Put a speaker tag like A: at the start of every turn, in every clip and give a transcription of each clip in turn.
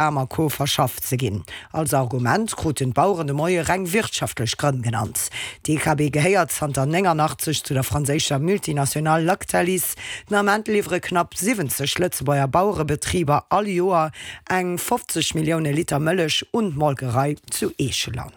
A: Bamako verschafft ze ginn. Als Argument kruten d'Baueren de Moie reng wirtschaftlech Grënn genannt. D'DKB gehéiert zanter 89 zu der franséischer Multinationale Lactalis. Den Ament liwwere knapp 70 Lëtzebuerger Bauerebetriber all Joer eng 50 Millioune Liter Mëllech un d'Molkerei zu Eecheler.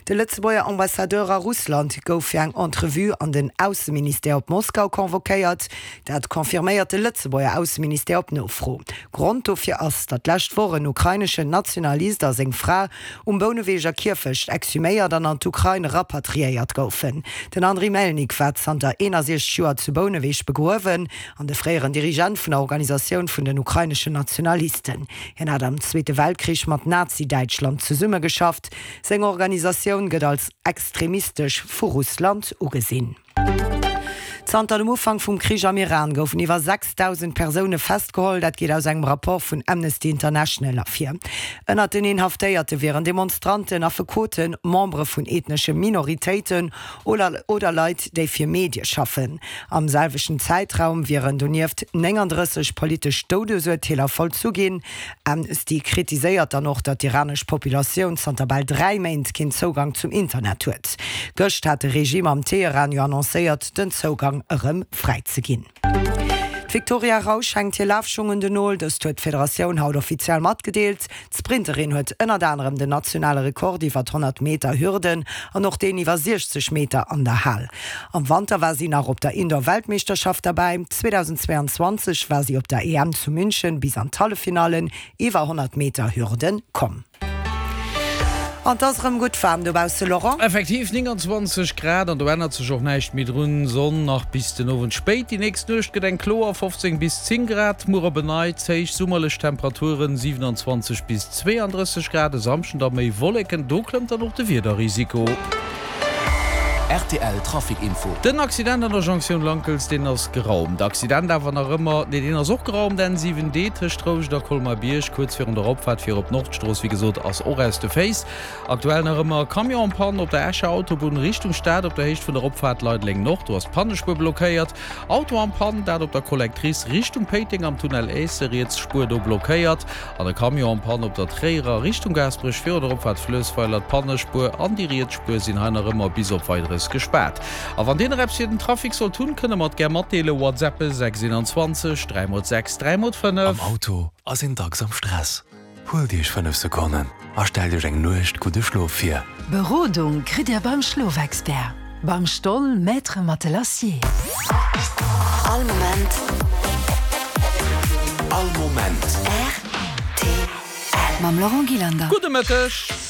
A: De Lëtzebuerger Ambassadeur a Russland gouf fir eng Entrevue an den Ausseministère op Moskau convoquéiert. Dat confirméiert de Lëtzebuerger Ausseministère op Nofro. Grond dofir ass, datt d'lescht Woch en ukraineschen Nationalist a seng Fra um Bouneweger Kierfecht exhuméiert an an d'Ukrain rapatriéiert goufen. Den Andriy Melnik war zanter 61 Joer zu Bouneweg begruewen an de fréieren Dirigent vun der Organisatioun vun den ukraineschen Nationalisten. Hien hat am Zweete Weltkrich mat Nazi-Däitschland zesummegeschafft. Seng Organisatioun gëtt als extremistesch vu Russland ugesinn. Zanter dem Ufank vum Krich am Iran goufen iwwer 6.000 Persoune festgeholl. Dat geet aus engem Rapport vun Amnesty International ervir. Ënnert den Inhaftéierte wieren Demonstranten, Affekoten, Membere vun ethnesche Minoritéiten oder Leit, déi fir Medie schaffen. Am selwechten Zäitraum wieren donieft 39 politesch Doudesurteeler vollzu ginn. Amnesty kritiséiert dann och, datt d'iranesch Populatioun zanter bal 3 Méint keen Zougang zum Internet huet. Gëscht hat de Regime am Teheran jo annoncéiert, den Zougang erëm fräi ze ginn. D'Victoria Rausch hänkt hir Lafschung un den Nol. Dëst huet d'Federatioun haut offiziell matgedeelt. D'Sprinterin huet ënnert anerem den nationale Rekord iwwer 100 Meter Hürden an och deen iwwer 60 Meter an der Hal. Am Wanter war si nach op der Indoor-Weltmeeschterschaft derbäi. 2022 war si op der EM zu München bis an d'Halleffinallen iwwer 100 Meter Hürden komm. An 't ass erëm gutt waarm dobausse, Laurent.
B: Effektiv, 29 Grad an do ännert sech och näischt méi drun. Sonn nach bis den Owend spéit. Déi nächst Nuecht gëtt eng kloer, 15 bis 10 Grad. Muer op en Neits héich summerlech Temperaturen, 27 bis 32 Grad. E Samschden da méi Wolleken, do klëmmt dann och de Wiederrisiko.
C: Rtl Trafic Info.
B: Den Accident an der Jonktioun Lankels, deen ass geraumt. Accident awer nach ëmmer, nee deen ass och geraumt, N7 D tëscht Rouscht a Colmar-Bierg, kuerz virun der Opfaart fir op d'Nordstrooss, wéi gesot ass och aus de Féiss. Aktuell nach ëmmer Camion en panne op der Escher Autobunn Richtung Stad op der Héicht vun der Opfaart Leideleng Nord, do ass d'Pannespuer blockéiert. Auto en panne, dat op der Collectrice Richtung Péiteng am Tunnel Aisse, riets Spuer do blockéiert. An e Camion en panne op der Tréierer Richtung Gaasperech virun der Opfaart Fluessweiler. D'Pannespuer an déi riets Spuer sinn hei nach ëmmer bis op Weideres gespaart. A wann dir nach eppes fir den Trafic sollt hunn, kënnt der mer et gär matdeelen. WhatsAppe 6 21 3 x 6 3 x 5.
C: Am Auto ass een dacks am Stress. Huelt Iech 5 Sekonnen a stellt Iech eng Nuecht gudde Schlof vir.
D: Berodung kritt Dir beim Schlofexpert, beim Stoll Maître Matelassier.
E: All Moment.
C: All Moment.
E: Rtl.
D: Mam Laurent Gillander.
B: Gudde Mëtteg.